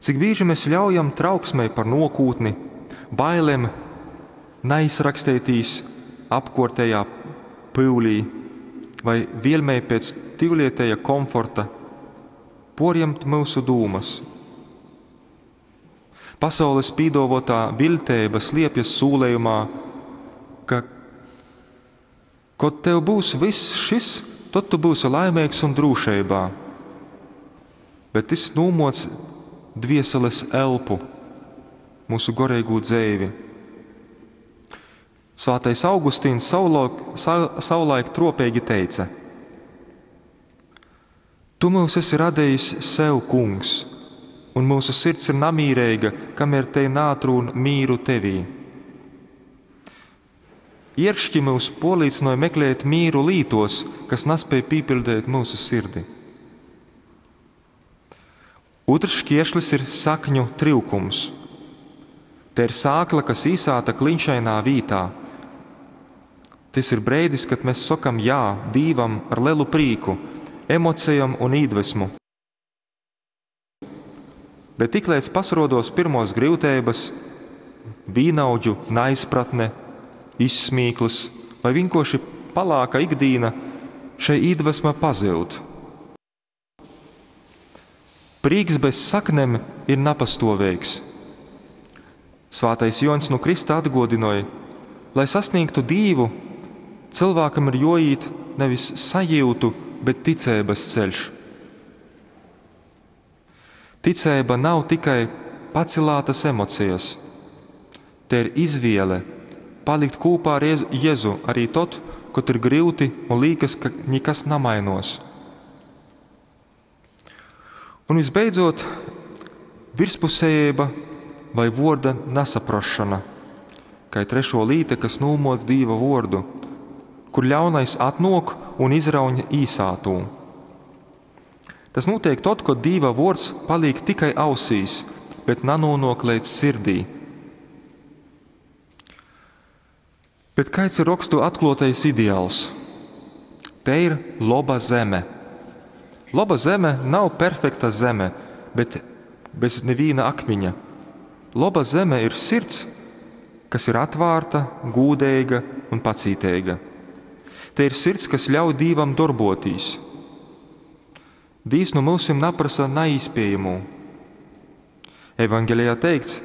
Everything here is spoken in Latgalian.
Cik bīži mes ļaujam trauksmei par nuokūtni, bailem naizraksteitīs apkuortejā pyulī vai vielmei pēc tiulieteja komforta puorjemt myusu dūmys? Pasaules pīduovuotā viļteiba sliepjas sūlejumā, ka, kod tev būs vyss šis, tod tu būsi laimeigs un drūšeibā. Bet tys nūmuoc dvieseles elpu, myusu goreigū dzeivi. Svātais Augustīns savulaik, savulaik truopeigi teica: Tu myus esi radejis sev, Kungs, un myusu sirds ir namīreiga, kamēr tei naatrūn mīru tevī. Ierkški myus puorlīcynoj meklēt mīru lītuos, kas naspēj pīpiļdeit myusu sirdi. Ūtrs škieršlis ir sakņu tryukums. Te ir sākla, kas īsāta klinšainā vītā. Tys ir breidis, kad mēs sokam jā Dīvam ar lelu prīku, emocejom un īdvesmu. Bet tikleidz pasarodos pirmos gryuteibys, vīnaudžu naizpratne, izsmīklys vai vienkārši palāka ikdīna, šei īdvesma pazyud. Prīks bez saknem ir napastuoveigs. Svātais Juoņs nu Krysta atguodynoj, lai sasniegtu Dīvu, cylvākam ir juoīt nevis sajiutu, bet ticeibys ceļš. Ticeiba nav tikai pacilātas emocijas. Te ir izviele palikt kūpā ar Jezu arī tod, kod ir gryuti un līkas, ka nikas namainos. Un visbeidzot, virspusējība vai vuorda nasaprašana, kai trešo līta, kas nūmoc Dīva vuordu, kur ļaunais atnok un izrauņ īsātū. Tas nūtiek tod, kod Dīva vuords palīk tikai ausīs, bet nanonok leidz sirdī. Bet kāds ir rokstu atkluotais ideāls? Te ir loba zeme. Loba zeme nav perfekta zeme, bet bez neviena akmiņa. Loba zeme ir sirds, kas ir atvārta, gūdeiga un pacīteiga. Te ir sirds, kas ļauj Dīvam darbotīs. Dīvs no myusim naprasa naīspējamo. Evangelijā teikts: